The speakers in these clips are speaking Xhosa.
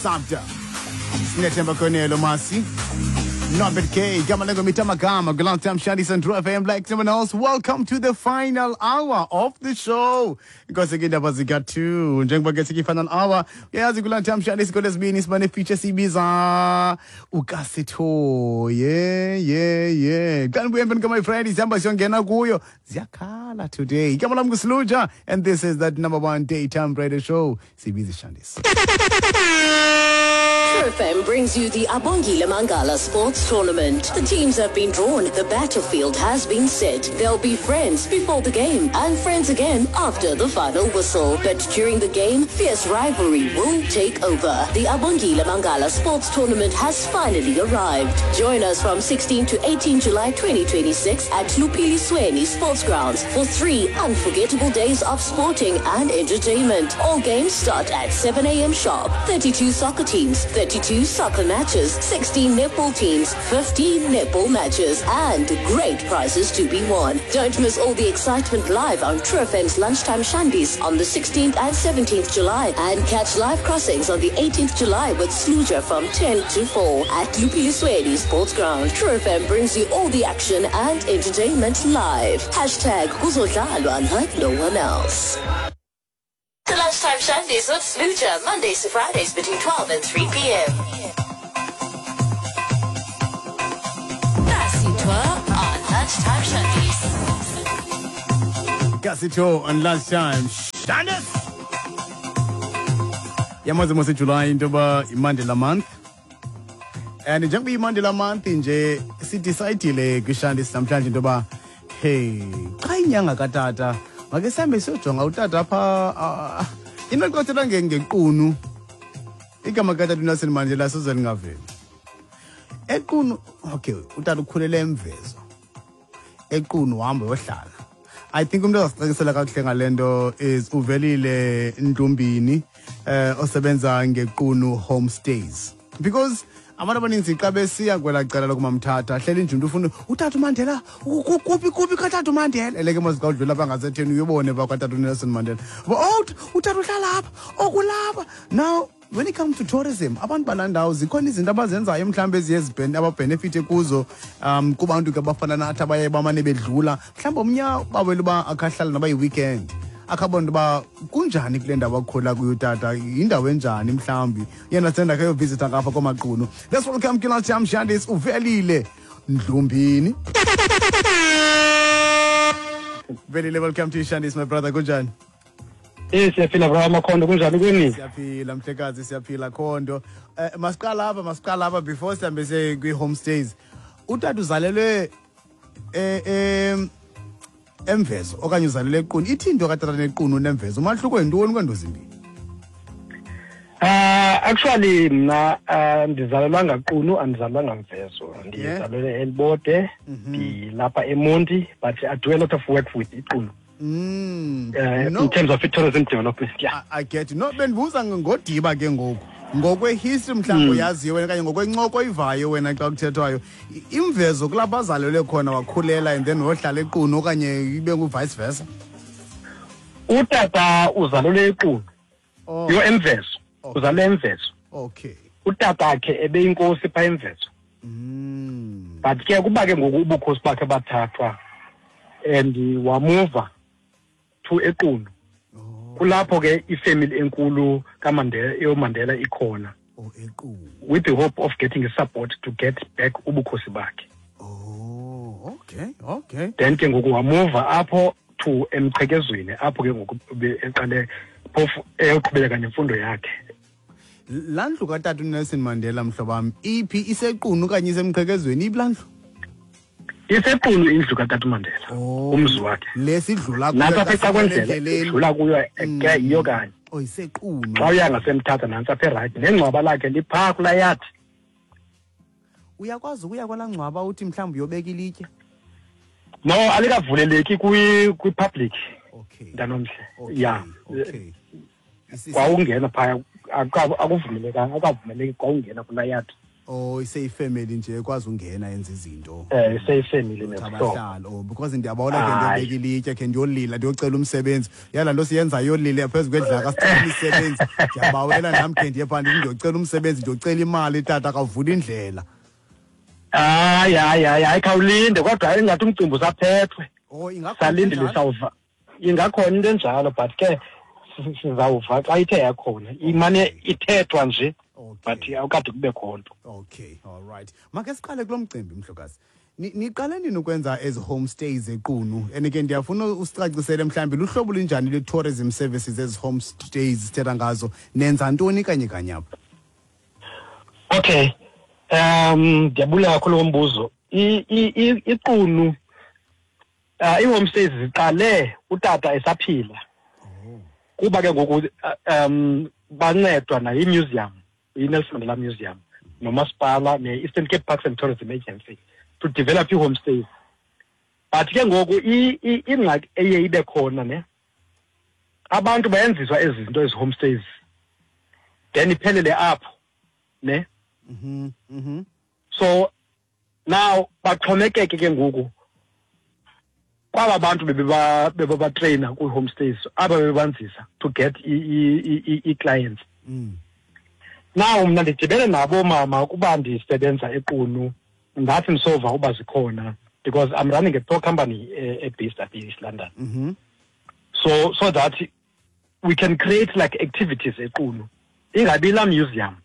Sabda. Sinethemba Konelo Masi. Norbert K, Gamalengo Mitamagama, Gulantam Shandi Sandro FM, like someone else. Welcome to the final hour of the show. Because again, that was got two. Njengoba ke sithi final hour. Uyazi Gulantam Shandi sikolesibini sibane feature sibiza ukasitho. Yeah, yeah, yeah. Xa nibuya emveni my friend, sihamba siyongena kuyo. Ziyakhala today. Igama lam nguSluja and this is that number one daytime radio show. Sibiza Shandis. True FM brings you the Abongile Mangala Sports Tournament. The teams have been drawn, the battlefield has been set. They'll be friends before the game and friends again after the final whistle. But during the game, fierce rivalry will take over. The Abongile Mangala Sports Tournament has finally arrived. Join us from 16 to 18 July 2026 at Lupili Sweni Sports Grounds for three unforgettable days of sporting and entertainment. All games start at 7 a.m. sharp. 32 soccer teams, 32 soccer matches, 16 netball teams, 15 netball matches, and great prizes to be won. Don't miss all the excitement live on True FM's Lunchtime Shandies on the 16th and 17th July and catch live crossings on the 18th July with Sluja from 10 to 4 at Lupiliswedi Sports Ground. True FM brings you all the action and entertainment live. Hashtag Kuzodlalwa like no one else. The Lunchtime Shandies with Sluja, Mondays to Fridays between 12 and 3 p.m. Kasi Tour on Lunchtime Shandies. Kasitho on lunchtime. Shandis! Yamazi mose July into yoba iMandela month. And njengoba iMandela month nje sidecide kwiShandis namhlanje into yoba hey, xa inyanga katata make sihambe siyojonga utata apha into xa ngequnu igama katata uNelson Mandela soze lingaveli. Equnu okay, utata ukhulele eMvezo. Equnu wahamba yohlala. I think umuntu ozasicacisela kakuhle ngale nto is uVelile Ndlumbini osebenza ngequnu homestays. Because abantu abaninzi xa besiya kwelaa cala lokumamthatha hleli nje umntu ufuna utata uMandela kuphi kuphi katata uMandela eleke mos xa udlula apha ngasetheni uyobone pha kwatata uNelson Mandela. Oh utata uhlala apha okulapha. Now when it comes to tourism abantu balaa ndawo zikhona izinto abazenzayo mhlawumbi eziye ababhenefithe kuzo kubantu ke abafana nathi abaye bamane bedlula mhlawumbi omnye bawela uba akhahlala noba yi-weekend akhabona uba kunjani kule ndawo akhula kuyo utata yindawo enjani mhlawumbi yena senda kayovizitha ngapha koMaqunu. Let's welcome ke Lunchtime Shandis uVelile Ndlumbini. Velile, welcome to Shandis my brother, kunjani? Siyaphila bra Makhondo, kunjani kuni? Siyaphila mhlekazi, siyaphila Khondo. Masiqala apha before sihambe siye kwi-homestays. Utata uzalelwe eMvezo okanye uzalelwe eQunu. Ithi into katata neQunu neMvezo, umahluko yintoni kweento zimbini? Actually mna ndizalelwanga Qunu, andizalelwanga Mvezo. Ndizalelwe eLibode, ndilapha eMonti, but I do a lot of work with iQunu. No. In terms of tourism development, yeah. I get you. No, bendibuza ngodiba ke ngoku. Ngokwe-history mhlawumbi oyaziyo wena okanye ngokwencoko oyivayo wena xa kuthethwayo, iMvezo kulapho azalelwe khona wakhulela and then wohlala eQunu okanye ibe ngu-vice versa? Utata uzalelwe eQunu. Oh. Yo eMvezo. Okay. Uzalelwe eMvezo. Okay. Utatakhe ebeyinkosi phaa eMvezo. But ke kuba ke ngoku ubukhosi bakhe bathathwa and wamuva to eQunu. Oh. Kulapho ke ifamily enkulu kaMandela, yoMandela ikhona. Oh, eQunu. With the hope of getting support to get back ubukhosi bakhe. Oh, okay, okay. Then ke ngoku wamuva apho to Emqhekezweni, apho ke ngoku eqale phofu eyoqhubeleka nemfundo yakhe. Laa ndlu katata uNelson Mandela mhlobo wam iphi, iseQunu okanye iseMqhekezweni? Iphi laa ndlu? Isequnu indlu katata uMandela. Oh. Umzi wakhe. Le sidlula kuyo Nantsi apha xa eca kwendlela, endleleni. idlula kuyo, ke yiyo kanye. Oh, isequnu. Xa uya ngasemthatha nantsi apha erayithi, nengcwaba lakhe liphaa kulaa yadi. Uyakwazi ukuya kwelaa ngcwaba uthi mhlawumbi uyobeka ilitye? No, alikavuleleki kwi-public. Okay. Mntanomhle. Okay. Yeah. Okay. Kwawungena phaya, akuvumelekanga, akavumeleki kwawungena kulaa yadi. Oh, iseyifamily nje ekwazi ungena yenza izinto. Iseyifamily nezihlobo. Abahlali, oh, because ndiyabona ke ndiyobeka ilitye khe ndiyolila ndiyocela umsebenzi. Yala nto siyenza yolila phezu kwedlaka sicela imisebenzi. Ndiyabawela nam khe ndiye phaa ndiyocela umsebenzi, ndiyocela imali, tata kavula indlela. Hayi, hayi, hayi, hayi, khawulinde, kodwa ingathi umcimbi usaphethwe. Oh, ingakhona Salindile. enjalo? Sawuva ingakhona into enjalo, but ke sizawuva xa ithe yakhona. Imane ithethwa nje, but awukade kube khona nto. Okay, all right. Make siqale kulo mcimbi, mhlokazi. Niqale nini ukwenza ezi homestays eQunu? And ke ndiyafuna usicacisele mhlawumbi luhlobo lunjani lwe-tourism services ezi homestays sithetha ngazo. Nenza ntoni kanye kanye apha? Okay. Ndiyabulela kakhulu ngombuzo. IQunu, ii-homestays ziqale utata esaphila. Kuba ke ngoku bancedwa nayi museum, i-Nelson Mandela Museum, nomasipala ne-Eastern Cape Parks and Tourism Agency to develop ii-homestays. But ke ngoku ingxaki eye ibe khona ne, abantu bayenziswa ezi zinto, ezi homestays, then iphelele apho ne. So now baxhomekeke ke ngoku kwaba bantu bebebatraina kwi-homestays, aba bebebanzisa to get i-clients. Now mna ndidibene nabo mama kuba ndisebenza eQunu, ndathi ndisova uba zikhona because I'm running a tour company based up in East London. So that we can create like activities eQunu, ingabi la museum,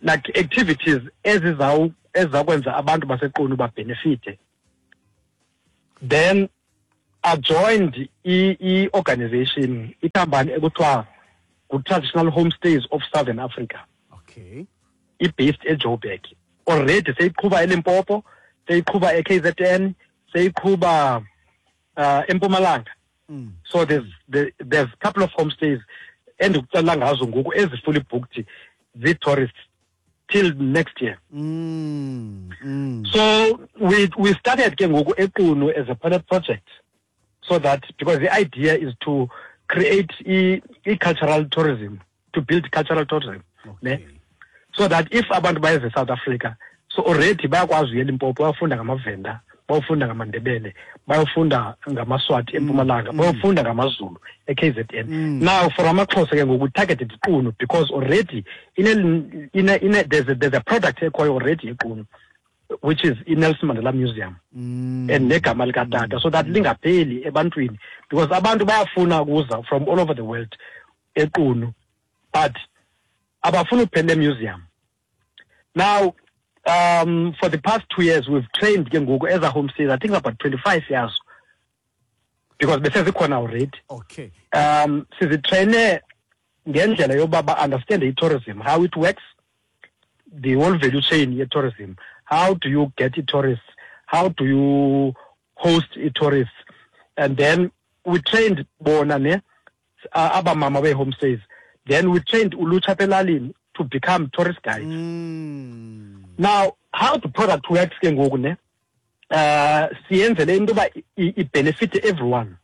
like activities ezizakwenza abantu baseQunu babenefite. Then I joined i-organization, ikhampani ekuthiwa ngu-Traditional Homestays of Southern Africa. I-based eJoburg. Already seyiqhuba eLimpopo, seyiqhuba e-KZN, seyiqhuba eMpumalanga. So there's a couple of homestays endikuxelela ngazo ngoku ezi-fully booked zii-tourists till next year. So we started ke ngoku eQunu as a pilot project, so that because the idea is to create i-cultural tourism, to build cultural tourism, ne? So that if abantu bayeze South Africa, so already bayakwazi uya eLimpopo, bayofunda ngamaVenda, bayofunda ngamaNdebele, bayofunda ngamaSwati eMpumalanga, bayofunda ngamaZulu e-KZN. Now for amaXhosa ke ngoku targeted iQunu because already there's a product ekhoyo already eQunu, which is iNelson Mandela Museum. And negama likatata, so that lingapheli ebantwini, because abantu bayafuna ukuza from all over the world eQunu, but abafuna ukuphela museum. Now, for the past 2 years, we've trained ke ngoku as a homestays, I think about 25 years, because besezikhona already. Sizitraine ngendlela yoba ba-understand i-tourism, how it works, the whole value chain ye-tourism. How do you get i-tourists? How do you host i-tourists? And then we trained bona ne, abamama be-homestays. Then we trained ulutsha apha elalini to become tourist guides. Now, how the product works ke ngoku ne, siyenzele into yoba i-benefit everyone.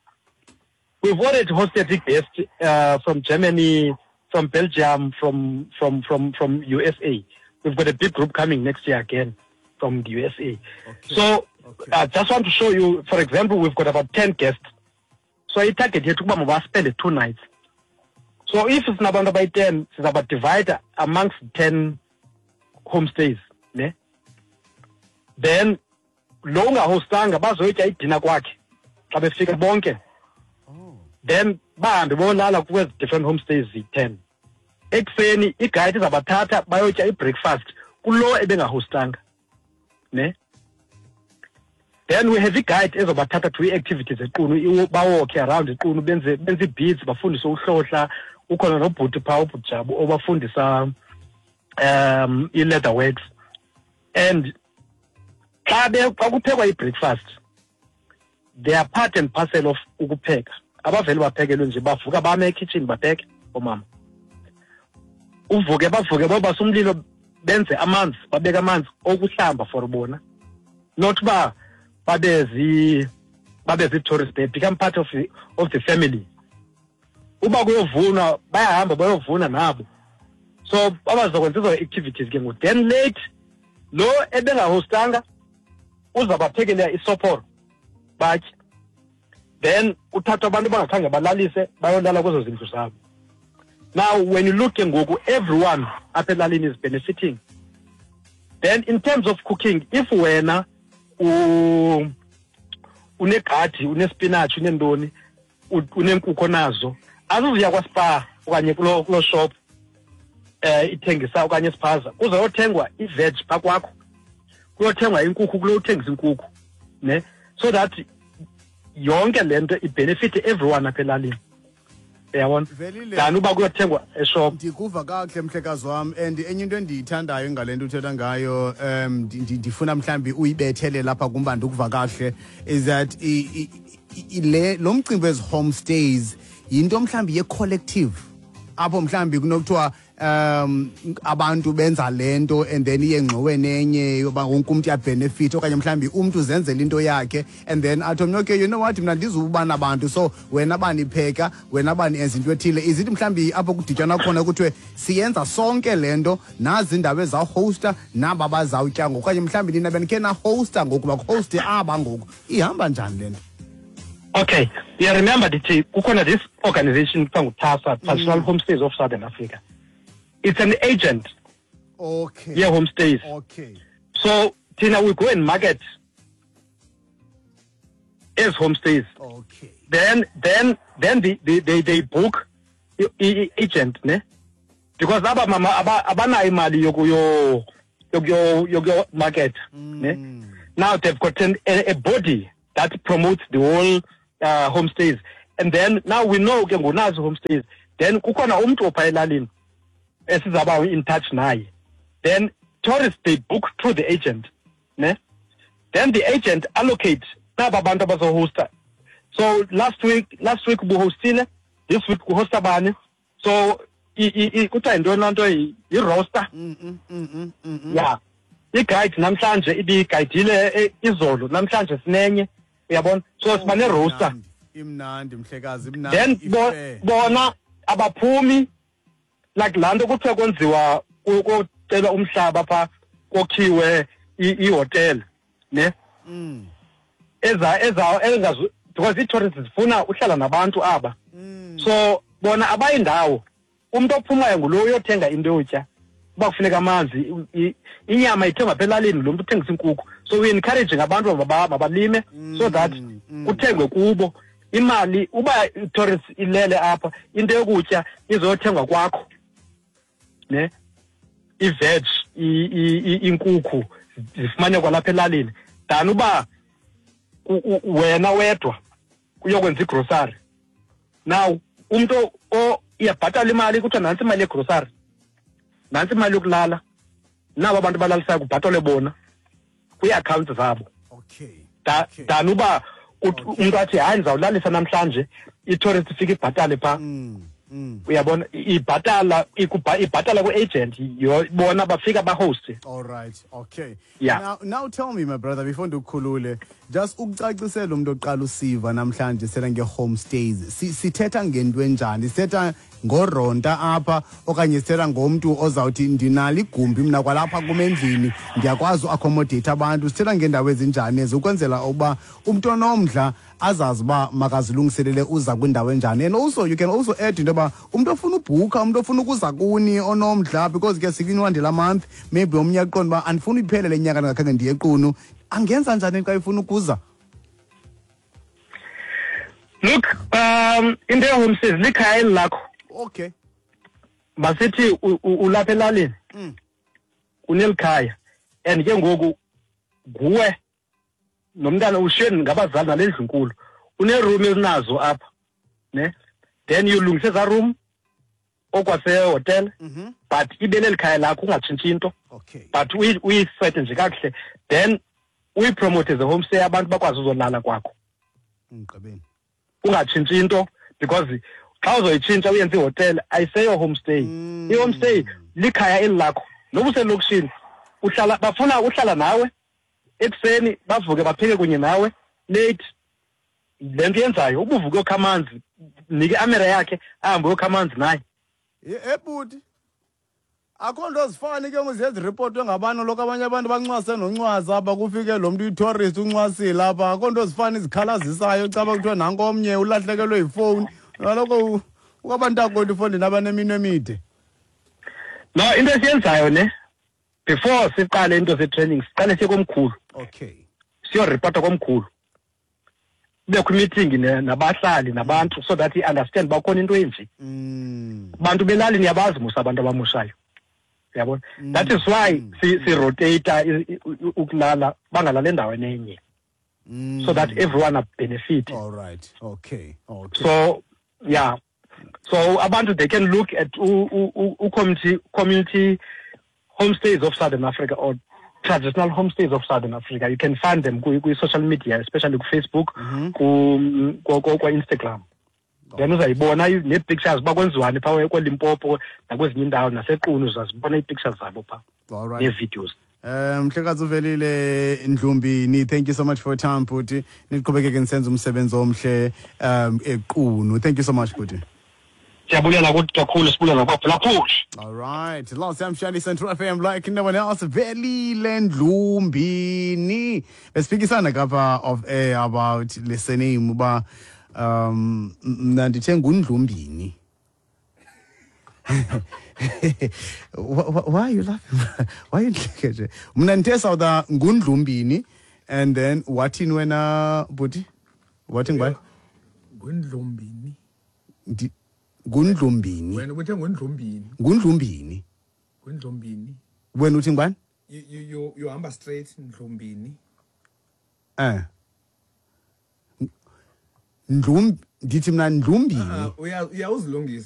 We've already hosted the guests from Germany, from Belgium, from USA. We've got a big group coming next year again from the USA. I just want to show you, for example, we've got about 10 guests. So I target here to spend 2 nights. So if it's not by 10, it's about divide amongst 10 homestays. Ne? Then lo ungahostanga bazoyitya idina kwakhe xa befika bonke. Then bahambe bolala kwezi different homestays ziyi-10. Ekuseni iguide izabathatha bayotya i-breakfast kulo ebengahostanga. Ne? Then we have i-guide ezobathatha to i-activities eQunu, bawalke around eQunu, benze ii-beads, bafundise uhlohla. Ukhona nobhuti phaa, ubhuti Jabu, obafundisa i-leather works. And xa kuphekwa i-breakfast, they are part and parcel of ukupheka. Abavele baphekelwe nje, bavuka bame ekitchen bapheke oomama. Uvuke bavuke bobasa umlilo, benze amanzi, babeke amanzi okuhlamba for bona. Not uba babe zi-tourists, they become part of the family. Uba kuyovunwa, bayahamba bayovuna nabo. So abazokwenza ezo activities ke ngoku. Then late lo ebengahostanga uzabaphekela isophoro batye, then kuthathwa abantu abangakhange balalise bayolala kwezo zindlu zabo. Now when you look ke ngoku, everyone apha elalini is benefiting. Then in terms of cooking, if wena unegadi, unespinach, unentoni, uneenkukhu nazo, azizuya kwaSpar okanye kuloo shop ithengisa okanye isiphaza, kuzoyothengwa i-veg phaa kwakho, kuyothengwa inkukhu kulo uthengisa inkukhu, ne, so that yonke le nto ibenefite everyone apha elalini, uyabona, Velile. than uba kuyothengwa eshop. Ndikuva kakuhle, mhlekazi wam, and enye into endiyithandayo ngale nto uthetha ngayo, ndifuna mhlawumbi uyibethele lapha kumba ndikuva kakuhle, is that le lo mcimbi wezi homestays yinto mhlawumbi ye-collective, apho mhlawumbi kunokuthiwa abantu benza le nto and then iye ngxoweni enye yoba wonke umntu uyabenefit, okanye mhlawumbi umntu uzenzela into yakhe and then athi omnye, okay, you know what, mna ndizuba nabantu, so wena banipheka, wena bani enza into ethile. Izithi mhlawumbi apho kudityanwa khona kuthiwe siyenza sonke le nto, nazi iindawo ezawuhosta, naba bazawutya ngoku, okanye mhlawumbi nina benikhe nahosta ngoku, bakuhoste aba ngoku. Ihamba njani le nto? Okay, you remember ndithi kukhona this organization kuthiwa nguTASA, Traditional Homestays of Southern Africa. It's an agent ye-homestays. So thina we go and market as homestays. Then they book agent, ne? Because aba mama abanayo imali yokuyo market, ne? Now they've got a body that promotes the whole homestays, and then now we know ke ngonazi homestays. Then kukhona umntu opha elalini esizaba in touch naye. Then tourists, they book through the agent, ne? Then the agent allocates naba bantu abazohosta. So last week ubuhostile, this week kuhosta bani. So kuthiwa yintoni laa nto, i-roster. Yeah, i-guide namhlanje ibigayidile, izolo, namhlanje sinenye, uyabona, so siba ne-roster. Imnandi, mhlekazi, imnandi. Then Ifair. Bona abaphumi, like laa nto kuthiwa kwenziwa kocelwa umhlaba phaa, kokhiwe ihotel, ne, eza engazu, because ii-tourists zifuna uhlala nabantu aba. So bona abayindawo, umntu ophumayo ngulo uyothenga into yotya, uba kufuneka amanzi, inyama ithengwa apha elalini, lo mntu uthengisa inkukhu. So we encouraging abantu mabalime so that kuthengwe kubo. Imali uba i-tourist ilele apha, into yokutya izothengwa kwakho, ne, i-veg, inkukhu zifumaneka kwalapha elalini, than uba wena wedwa uyokwenza igrosari. Now umntu iyabhatala imali, kuthiwa nantsi imali yegrosari, nantsi imali yokulala, nabo abantu balalisayo kubhatalwe bona kwii-accounts zabo. Than uba umntu athi hayi, ndizawulalisa namhlanje, i-tourist ifike ibhatale phaa. Uyabona, ibhatala kwi-agent, bona bafika bahoste. All right, okay. Yeah. Now tell me, my brother, before ndikukhulule, just ukucacisela umuntu oqala usiva namhlanje sela nge-homestays. Sithetha ngento enjani? Sithetha ngoronta apha okanye sithetha ngomntu ozawuthi ndinalo igumbi mna kwalapha kum endlini, ndiyakwazi uaccommodate abantu? Sithetha ngeendawo ezinjani ezi, ukwenzela uba umntu onomdla azazi uba makazilungiselele uza kwindawo enjani? And also you can also add into yoba umntu ofuna ubhukha, umntu ofuna ukuza kuni onomdla, because ke sikwiNwandela month, maybe omnye aqonda uba andifuni iphele le nyaka ndingakhange ndiye eQunu, angenza njani xa efuna ukuza? Look, into ye-homestays likhaya eli lakho. Masithi ulapha elalini, unelikhaya, and ke ngoku nguwe nomntana, ushiye ngabazali nale ndlu nkulu, uneroom ezinazo apha, ne, then ulungise ezaa room okwasehotel, but ibe leli khaya lakho, ungatshintshi into, but uyisete nje kakuhle, then uyipromote as a homestay, abantu bakwazi uzolala kwakho. Ngigqibeni. Ungatshintshi into, because xa uzoyitshintsha uyenze ihotel, ayiseyo homestay. I-homestay likhaya eli lakho, noba uselokishini, uhlala, bafuna uhlala nawe ekuseni, bavuke bapheke kunye nawe late, le nto yenzayo, ubuvuke uyokha amanzi, nike amera yakhe ahambe uyokha amanzi naye. Ebhuti. Akho nto zifani ke ngoku ziye ziripotwe ngabantu lokho, abanye abantu bancwase noncwasa apha, kufike lo mntu uyi-tourist uncwasile apha. Akho nto zifani zikhalazisayo caba kuthiwa nanko omnye ulahlekelwe yifowuni. Kaloku ukwabantakwethu ifondini abaneminwe emide. No, into esiyenzayo ne, before siqale into ze-training, siqale siye komkhulu. Siyoripota komkhulu, kubekho imeeting nabahlali nabantu so that i-understand uba kukhona into enje. Bantu belali niyabazi mos abantu abamoshayo, uyabona. That is why si-rotate ukulala, bangalali endaweni enye, so that everyone benefit. All right, okay. So yeah, so abantu, they can look at u community homestays of Southern Africa or Traditional Homestays of Southern Africa. You can find them kwi-social media, especially ku-Facebook, kwa-Instagram. Then uzayibona nee-pictures uba kwenziwani phaa kweLimpopo nakwezinye iindawo, naseQunu uzazibona ii-pictures zabo phaa All right. nee-videos. Mhlekazi uVelile Ndlumbini, thank you so much for your time, bhuti. Niqhubekeke nisenza umsebenzi omhle eQunu. Thank you so much, bhuti. Siyabulela kuthi kakhulu, sibulela kwaphulaphuli. All right. Last time Shani Central FM like no one else. Velile Ndlumbini. Besiphikisana kapha off air about le surname uba mna ndithe nguNdlumbini. Why are you laughing? Why you nje nje? Mna ndithe sawuda nguNdlumbini and then wathini wena, bhuti? Wathi ngubani? Ngundlumbini. NguNdlumbini. Wena ubuthe ngundlumbini. NguNdlumbini. Ngundlumbini. Wena uthi ngubani? You hamba straight, Ndlumbini. Ndlum ndithi mna Ndlumbini. Ah, uyawuzilungisa.